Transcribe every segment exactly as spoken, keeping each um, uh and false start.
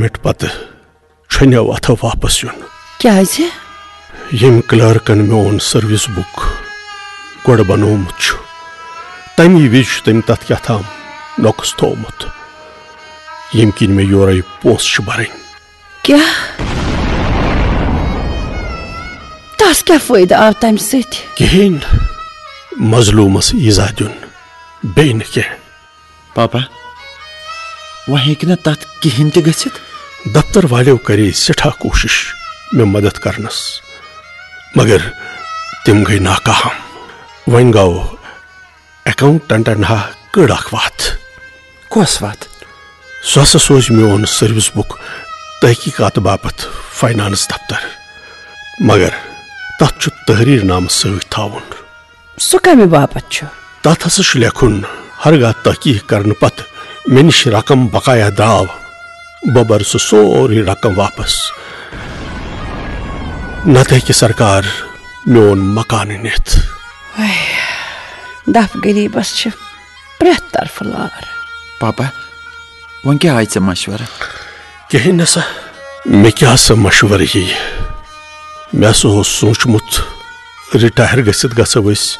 مِٹ پتہٕ چھۄنیو اتھو واپس یُن۔ کیازِ؟ ییٚمۍ کلرکن میون سروس بُک گۄڈٕ بنوومُت چھُ، تمی وِزِ چھُ تٔمۍ تتھ کیٛاہ تام نۄقُص تھوومُت، ییٚمہِ کِنۍ مےٚ یورے پونٛسہٕ چھِ برٕنۍ۔ کیٛاہ؟ تس کیٛاہ فٲیدٕ آو تمہِ سۭتۍ؟ کِہیٖنۍ۔ مظلومس ایزا دیُن، بیٚیہِ نہٕ کینٛہہ۔ پاپا، وۄنۍ ہیٚکہِ نہٕ تتھ کِہیٖنۍ تہِ گٔژھِتھ۔ دفتر والیو کرے سٮ۪ٹھاہ کوٗشش مےٚ مدد کرنس، مگر تِم گٔے ناکام۔ وۄنۍ گوٚو اکاؤنٹنٹن ہا کٔڑ اکھ وتھ۔ کۄس وتھ؟ سُہ ہسا سوزِ میون سروس بُک تحقیقات باپتھ فائنانس دفتر، مگر تتھ چھُ تحریر نامہٕ سۭتۍ تھاوُن۔ سُہ کمہِ باپتھ چھُ؟ تتھ ہسا چھُ لیکھُن، ہرگاہ تحقیق کرنہٕ پتہٕ مےٚ نِش رقم بقایا درٛاو، بہٕ برٕ سُہ سورُے رقم واپس، نتہٕ ہیٚکہِ سرکار میون مکانہٕ نِتھ۔ دپھ غریبس چھِ پرٛٮ۪تھ طرفہٕ لار۔ پاپا، وۄنۍ کیٛاہ آیہِ ژےٚ مشورٕ؟ کِہیٖنۍ نہ سا، مےٚ کیٛاہ سا مشورٕ یی؟ مےٚ ہسا اوس سوٗنٛچمُت، رِٹایَر گٔژھِتھ گژھو أسۍ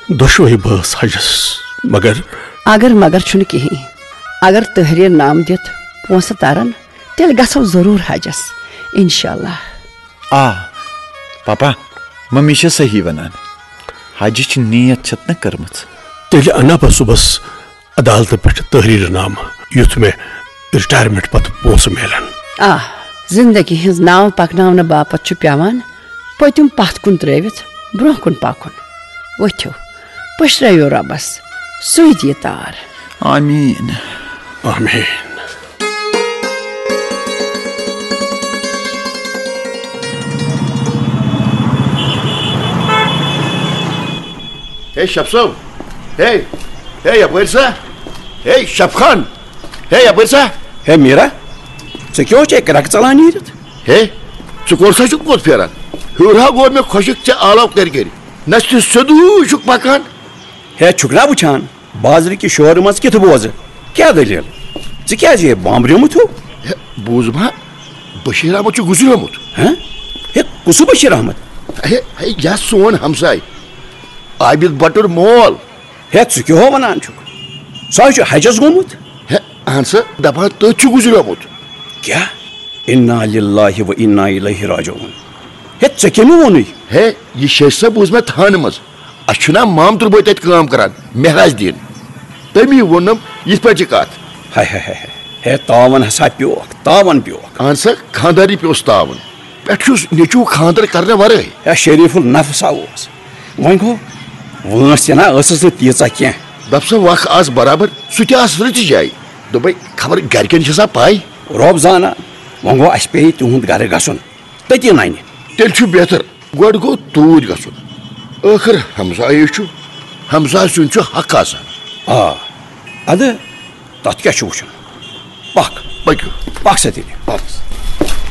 دۄشوَے بٲژ حجس، مگر اگر مگر چھُنہٕ کِہیٖنۍ۔ اگر تحریر نامہٕ دِتھ پونٛسہٕ ترن، تیٚلہِ گژھو ضروٗر حجس، انشاءاللہ۔ آ، پاپا، ممی چھےٚ صحیح ونان۔ حجٕچ نیت چھتھ نہ کٔرمٕژ۔ تیٚلہِ انا بہٕ صُبحس عدالتہٕ پٮ۪ٹھ تحریر نامہٕ، یُتھ مےٚ رِٹایرمنٹ پتہٕ پونٛسہٕ میلن۔ آ، زندگی ہٕنٛز ناو پکناونہٕ باپتھ چھُ پٮ۪وان پٔتِم پتھ کُن ترٲوِتھ برونٛہہ کُن پکُن۔ ؤتھِو، پٔشرٲیِو رۄبس، سُے دِیہِ تار۔ آمین۔ آمین۔ ہے شب صٲب، ہے، ہے یپٲرۍ سا، ہے شب خان، ہے یپٲرۍ سا۔ ہے میرا، ژےٚ کیٛاہ اوس، ژےٚ کرٛکھ ژلان نیٖرِتھ؟ ہے، ژٕ کوٚر سا چھُکھ کوٚت پھیران؟ ہیوٚر ہا گوٚو مےٚ خۄشِک ژےٚ آلو کٔرۍ کٔرۍ، نہ چھُ سیوٚدُے چھُکھ پکان۔ ہے چھُکھ نا وٕچھان، بازرٕ کہِ شورٕ منٛز کِتھ بوزٕ؟ کیٛاہ دٔلیٖل؟ ژٕ کیٛازِ یہِ بامبریومُت ہیوٗ؟ ہے، بوٗز ما، بشیٖر احمد چھُ گُزریومُت۔ ہہ؟ ہے، کُس بشیٖر احمد؟ ہے، ہے، یہِ سون ہمساے، عابد بٹُر مول۔ ہے، ژٕ کیٛاہ ہو ونان چھُکھ؟ سُہ ہا چھُ حجس گوٚمُت۔ ہے، اہن سا، دپان تٔتھۍ چھُ گُزریومُت۔ کیٛاہ؟ انا للہ و انا الیہ راجعون۔ ہے، ژےٚ کٔمۍ ووٚنُے؟ ہے، یہِ شیٚچھ سا بوٗز مےٚ تھانہٕ منٛز۔ اَسہِ چھُنہ مامتُر بوے تَتہِ کٲم کران، مہراج دیٖن۔ تٔمی ووٚنُم یِتھ پٲٹھۍ یہِ کَتھ۔ ہاے ہاے ہاے ہاے۔ ہے، تاوَن ہسا پیوکھ، تاوَن پیوکھ۔ اہن سا، خانٛدارنٕے پیوس تاوَن۔ پٮ۪ٹھٕ چھُس نیٚچوٗ خانٛدر کرنہٕ ورٲے۔ ہے، شریٖف النفس ہا اوس۔ وۄنۍ گوٚو، وٲنٛس تہِ نہ ٲسٕس نہٕ تیٖژاہ کینٛہہ۔ دَپ سا وَکھ آس برابر، سُہ تہِ آس رٕژِ جایہِ۔ دوٚپمَے، خبر گرِکٮ۪ن چھےٚ سا پَے؟ رۄب زانان۔ وۄنۍ گوٚو، اَسہِ پیٚیہِ تِہُنٛد گرٕ گژھُن۔ تٔتی نَنہِ۔ تیٚلہِ چھُ بہتر۔ گۄڈٕ گوٚو توٗرۍ گژھُن۔ ٲخٕر ہمسایے چھُ۔ ہمسایہِ سُنٛد چھُ حق آسان۔ آ، اَدٕ تَتھ کیٛاہ چھُ وٕچھُن؟ پَکھ۔ پٔکِو۔ پَکھ سا تیٚلہِ۔ پَکھ۔